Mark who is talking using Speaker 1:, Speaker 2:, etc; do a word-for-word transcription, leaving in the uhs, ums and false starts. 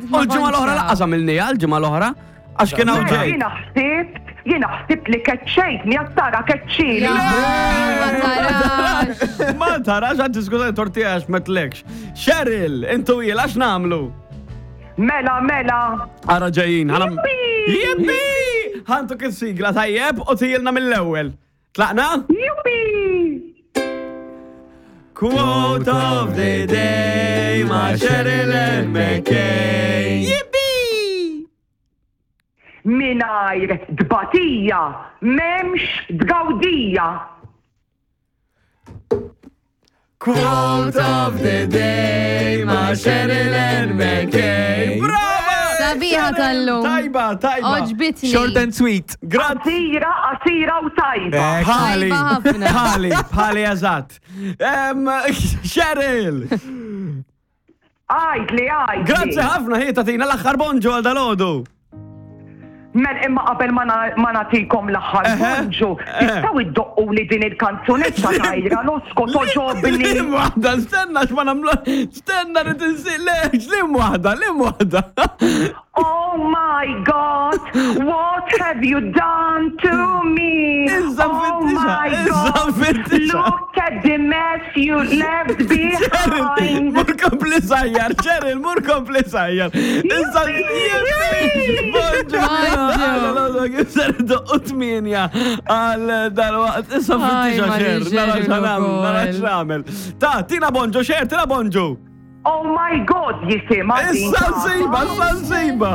Speaker 1: U l-ġimgħa l-oħra lanqas għamilnieha, l-ġimgħa l-oħra, għax kien hawn
Speaker 2: Mela
Speaker 1: ġej.
Speaker 2: Jiena ħsibt, jiena ħsibt li keċċejtni, għattara keċċini.
Speaker 3: Ma tarax.
Speaker 1: Ma tarax, għad diskuta tortija għax metlekx. Cheryl, intu jil, għax namlu?
Speaker 2: Mela, mela.
Speaker 1: Ara ġejjin, ħana.
Speaker 2: Jippi!
Speaker 1: Jippi! Ħantu kif sigla tajjeb u tijilna mill-ewwel. Tlaqna?
Speaker 2: Juppi!
Speaker 1: Quote of the day ma' Cheryl and McKay. Jippi!
Speaker 2: Mingħajr tbatija, m'hemmx tgawdija.
Speaker 1: Quote of the day ma' Cheryl and McKay. Brava!
Speaker 3: Sabiħa tal-lum.
Speaker 1: Tajba, tajba.
Speaker 3: Oġbitni.
Speaker 4: Short and sweet.
Speaker 1: Grazzi.
Speaker 2: Qasira, qasira u tajba.
Speaker 4: Ek.
Speaker 1: Bħali,
Speaker 3: Tajba ħafna.
Speaker 1: bħali, bħali eżatt. Em, Cheryl,
Speaker 2: Għajdli, għajdli.
Speaker 1: grazzi ħafna ħi tatina l-aħħar bonġu għal dalodu.
Speaker 2: Mel imma qabel ma na- ma nagħtikom l-aħħar
Speaker 1: Eħe,
Speaker 2: bonġu,
Speaker 1: eħe.
Speaker 2: tistgħu iddoqqu li din il-kanzunetta tajra Losco togħġobni.
Speaker 1: Lim waħda, stenna x'ma nagħmlu, stenna li tinsi, le, lim waħda, lim waħda.
Speaker 2: Oh my God, what have you done to me?
Speaker 1: Issa
Speaker 2: Oh
Speaker 1: nfittixha,
Speaker 2: my
Speaker 1: issa
Speaker 2: God,
Speaker 1: nfittixha.
Speaker 2: look at the mess you left
Speaker 1: Cheryl,
Speaker 2: behind.
Speaker 1: mur kompli sajjar, Cheryl, mur kompli sajjar. Issa, jippi, bonġu.
Speaker 3: Bonġu.
Speaker 1: Kif ser doqqu tminja għal dal-waqt, issa
Speaker 3: Aj,
Speaker 1: nfittixha,
Speaker 3: Mari
Speaker 1: Cheryl, nara
Speaker 3: Cheryl
Speaker 1: x'nagħmel, nara
Speaker 3: ukoll.
Speaker 1: x'nagħmel. Ta, tina bonġu, Cheryl, tina bonġu.
Speaker 2: Oh my God, jisimha din.
Speaker 1: Issa nsiba, issa nsiba.